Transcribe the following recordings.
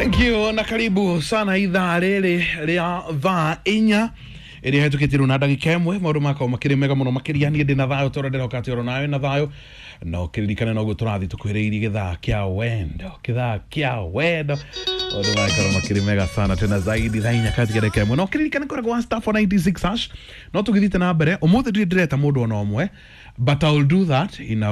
Thank you na karibu sana ithaa rĩrĩ rĩa thaa 4 ĩrĩa hetũkĩtirwo na ndagĩka 1. Maũndũ makwa makĩrĩ mega mũno makĩria. Niĩ ndĩ na thayũ tondũ ndĩroka atĩ oro nawe na thayũ, na ũkĩririkane noguo tũrathiĩ tũkuhĩrĩirie gĩthaa kĩa wendo, gĩthaa kĩa wendo. Maũndũ makorwo makĩrĩ mega sana tena zaidi thaa 4 katika ndagĩka 1, na ũkĩririkane kũrĩa gwa *496#. No tũgĩthiĩte na mbere ũmũthĩ, ndirĩ ndĩreta mũndũ ona ũmwe, but I will do that in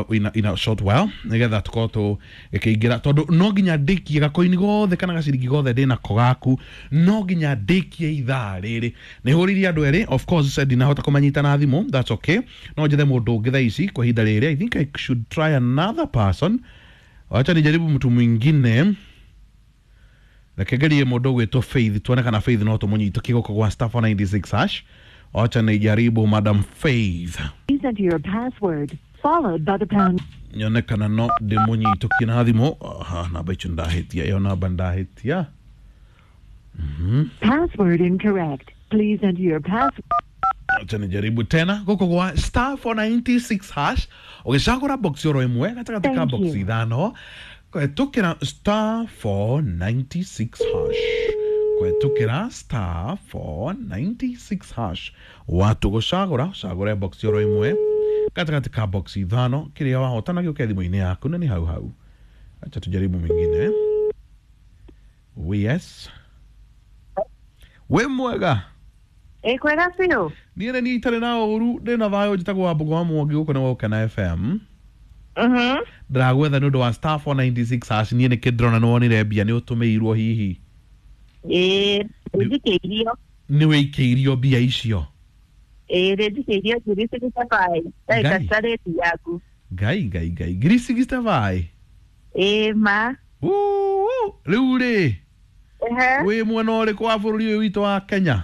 a short while, nigetha tukorwo tũgĩkĩingĩra, tondũ no nginya ndĩkie gakoini gothe kana gaciringi gothe ndĩnako gaku, no nginya ndĩkie ithaa rĩrĩ. Nĩ hũrĩirie andũ erĩ, of course ndinahota kũmanyita na thimũ. That's okay, no njethe mũndũ ũngĩ thaa ici kwa ihinda rĩrĩ. I think I should try another person. Wacha nijaribu mtu mwingine. Reke ngerie mũndũ ũgwĩtwo Faith, tuone kana Faith no tũmũnyitũkie gũkũ gwa *496#. Wacha nijaribu Madam Faith. Please enter your password, followed by the pound. Nyone kana no ndĩmũnyitũkie na thimũ. Aha, namba icio ndahĩtia, ĩyo namba ndahĩtia. Password incorrect. Please enter your password. Acha nijaribu tena gũkũ gwa *496#, ũgĩcagũra box oro ĩmwe gatagatĩ ka Thank box you. 5, kũhetũkĩra *496#, kũhetũkĩra *496# watu gũcagũra, ũcagũre box oro ĩmwe gatagatĩ ka box 5, kĩrĩa wahotana gĩũke thimũ-inĩ yaku, na nĩ hau hau. Acha tujaribu mwingine. Yes, wĩ mwega? Ĩ, kwega biũ. Niĩ nĩ niĩ itarĩ na ũru, ndĩ na thayũ. Njĩtagwo Wambũgũ wa Mwangi, gũkũ nĩ Gũkena FM. Ndĩragwetha nĩ ũndũ wa *496#. Niĩ nĩkĩ ndĩrona nĩ wonire mbia, nĩ ũtũmĩirwo hihi? Ĩ, njikĩirio. Nĩ wĩikĩirio mbia icio? Ĩ, rĩnjikĩirio 65,000 Ngai. ndagĩka rĩti yaku. Ngai, ngai, ngai, 65,000? Ĩ ma. Uu, rĩu rĩ, wĩ mwena ũrĩkũ wa bũrũri ũyũ witũ wa Kenya?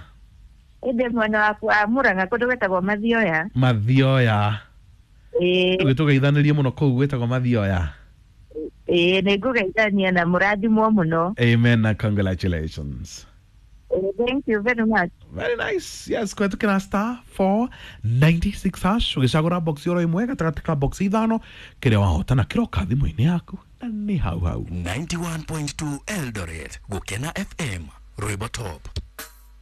Ĩndĩ mwena waku wa Mũrang'a, kũndũ gwĩtagwo Mathioya. Mathioya? Ĩ. Tũgĩtũgeithanĩrie mũno kũu gwĩtagwo Mathioya. Ĩ, nĩ ngũgeithania na mũrathimwo mũno. Amen na congratulations. Ĩ, thank you very much. Very nice. Yes, kũhetũkĩra *496#, ũgĩcagũra box oro ĩmwe gatagatĩ ka box 5, kĩrĩa wahotana kĩroka thimũ-inĩ yaku, na nĩ hau hau. 91.2 Eldoret, Gukena FM, Rwimbo Top.